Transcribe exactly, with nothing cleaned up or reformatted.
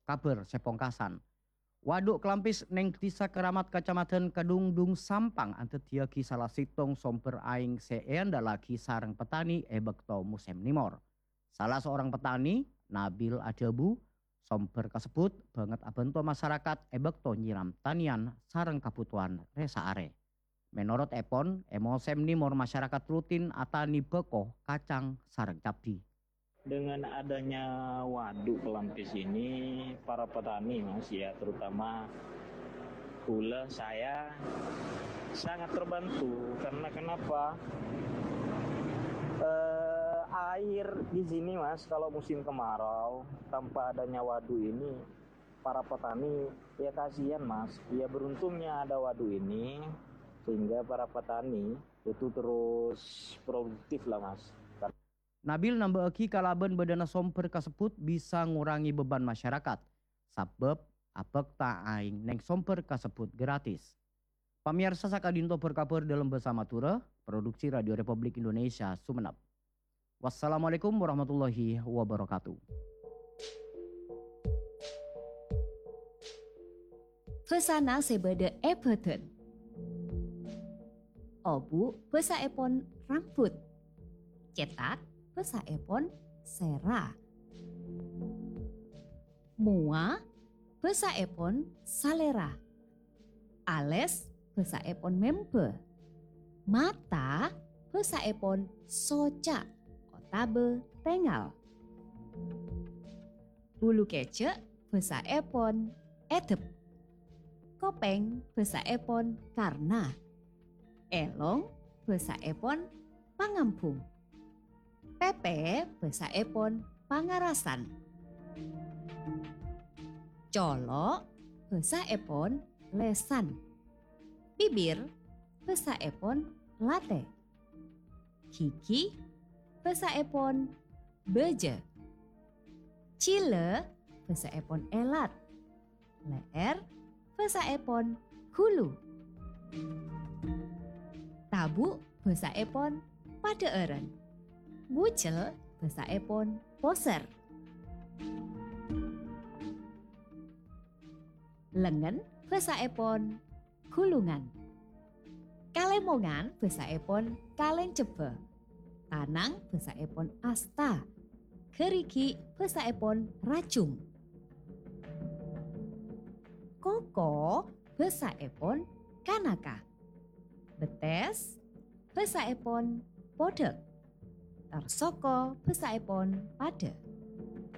Kabhâr sè pongkasan. Wadhu Kelampis neng Dhisa Keramat, Kacamatan Kedungdung, Sampang, andaddhiyâghi sala sèttong sombher aèng sè èandhâllaghi sareng petani è bâkto mosèm nèmor. Sala saorang petani, Nabil, adhâbu, sombher kasebbhut bângèt abhânto masarakat è bâkto nyèram tanèyan sareng kabhutowan rè-saarè. Mènorot èpon, è mosèm nèmor masarakat rutin atanè bhâko, kacang, sareng cabbhi. Dengan adanya waduk Kelampis ini, para petani, Mas, ya, terutama kaulâ, saya sangat terbantu. Karena kenapa? Eh, air di sini, Mas, kalau musim kemarau, tanpa adanya waduk ini, para petani, ya, kasihan, Mas. Ya, beruntungnya ada waduk ini, sehingga para petani itu terus produktif lah, Mas. Nabil nambâ'âghi, kalabân bâdâna sombher kasebbhut bisa ngorangè beban masarakat, sabâb abhâkta aèng neng sombher kasebbhut gratis. Pamèyarsa, saka'dinto bâr-kabhâr dâlem bhâsa Madhurâ, produksi Radio Republik Indonesia, Sumenep. Wassalamualaikum warahmatullahi wabarakatuh. Bhâsana sè bâdâ è bhâdhân. Obu' bhâsaèpon rambut. Cètak bhâsaèpon sèra. Mowa bhâsaèpon salèra. Alès bhâsaèpon membâ. Mata bhâsaèpon soca' otabâ tèngal. Bulu kèjhâ' bhâsaèpon èdep. Kopèng bhâsaèpon karna. Èlong bhâsaèpon pangambhung. Pèpè bhâsaèpon pangarasan. Colo' bhâsaèpon lèsan. Bibir bhâsaèpon latè. Ghighi bhâsaèpon bâjâ. Jhilâ bhâsaèpon èlat. Lè'èr bhâsaèpon ghulu. Tabu' bhâsaèpon padhâ'ârân. Bujel bhâsaèpon posèr. Lengngen bhâsaèpon ghulungan. Kalèmongan bhâsaèpon kalèng cebbhâ. Tanang bhâsaèpon asta. Ghârighi' bhâsaèpon rajung. Koko bhâsaèpon kanaka. Bettès bhâsaèpon podhâk. Tor soko bhâsaèpon padâ.